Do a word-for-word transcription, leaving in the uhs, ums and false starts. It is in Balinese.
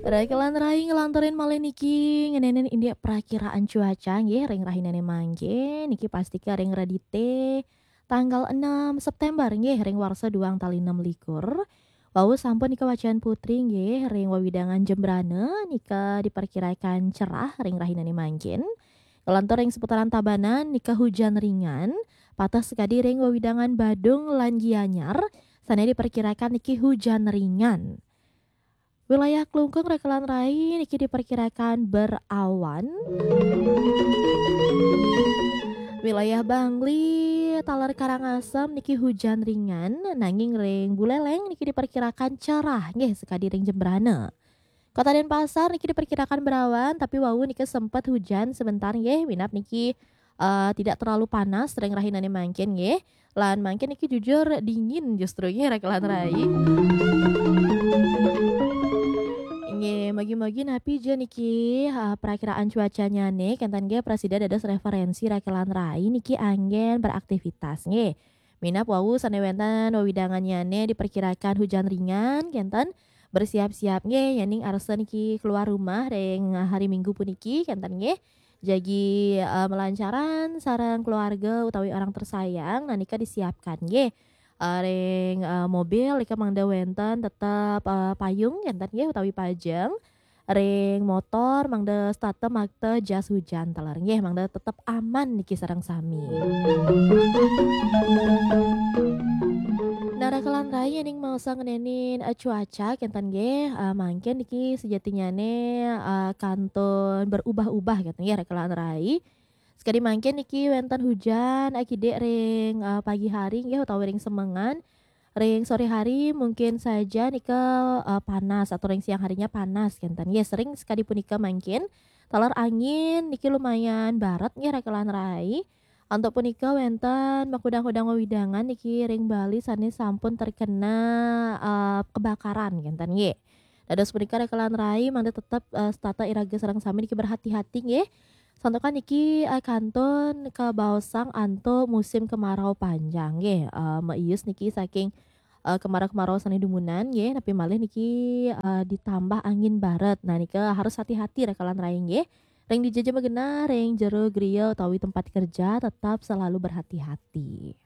Rakelan rai, ngelanturin malih niki ngeninin indik prakiraan cuaca nggih ring rahinane mangkin. Niki pastika ring Redite tanggal enam September nggih ring warsa duang tali enam likur. Wau sampun nika wacan putri nggih ring wewidangan Jembrana nika diperkirakan cerah ring rahinane mangkin. Ngelantur ring seputaran Tabanan nika hujan ringan, pateh sakadi ring wewidangan Badung lan Gianyar sane diperkirakan niki hujan ringan. Wilayah Klungkung Rakelan Rai niki diperkirakan berawan. Wilayah Bangli taler Karangasem niki hujan ringan, nanging ring Buleleng niki diperkirakan cerah nggih sakadi ring Jembrana. Kota Denpasar niki diperkirakan berawan, tapi wau niki sempat hujan sebentar nggih, minab niki eh, tidak terlalu panas ring rahinane mangkin nggih. Lan mangkin niki jujur dingin justru nggih Rakelan Rai. Nggih, mogi-mogi napi ja niki eh, perakiraan cuacanyane kenten nggih prasida dados referensi Rakelan Rai niki anggen beraktivitas nggih. Minab wau sane wenten wewidangannyane diperkirakan hujan ringan kenten, bersiap-siap nggih yening arsa niki keluar rumah ring hari Minggu puniki kenten nggih. Jagi eh, melancaran sareng keluarga utawi orang tersayang, nah nika disiapkan nggih. Eh, ring eh, mobil nika mangda wenten tetep eh, payung kenten nggih utawi pajeng. Ring motor mangda setata makta jas hujan taler nggih, mangda tetep aman niki sareng sami. Nah, Rakelan Rai, yening maosa ngenenin eh, cuaca kenten nggih, eh, mangkin niki sejatinyane eh, kantun berubah-ubah kenten nggih Rakelan Rai. Sekadi mangkin niki wenten hujan eh, kidik ring eh, pagi hari nggih utawi ring semengan. Ring sore hari mungkin saja nika eh, panas atau ring siang harinya panas kenten. Nggih, sering sekadi punika mangkin. Taler angin niki lumayan baret nggih Rakelan Rai. Antuk punika wenten makudang-kudang wewidangan niki ring Bali sane sampun terkena eh, kebakaran kenten nggih. Dados punika Rakelan Rai mangda tetep eh, setata iraga sareng sami niki berhati-hati nggih. Santukan niki eh, kantun kabaosang antuk musim kemarau panjang nggih. Eh, maius niki saking eh, kemarau-kemarau sane dumunan nggih, napi malih niki eh, ditambah angin baret. Nah, nika harus hati-hati Rakelan Rai nggih. Ring dija ja magenah, ring jero griya utawi tempat kerja tetap selalu berhati-hati.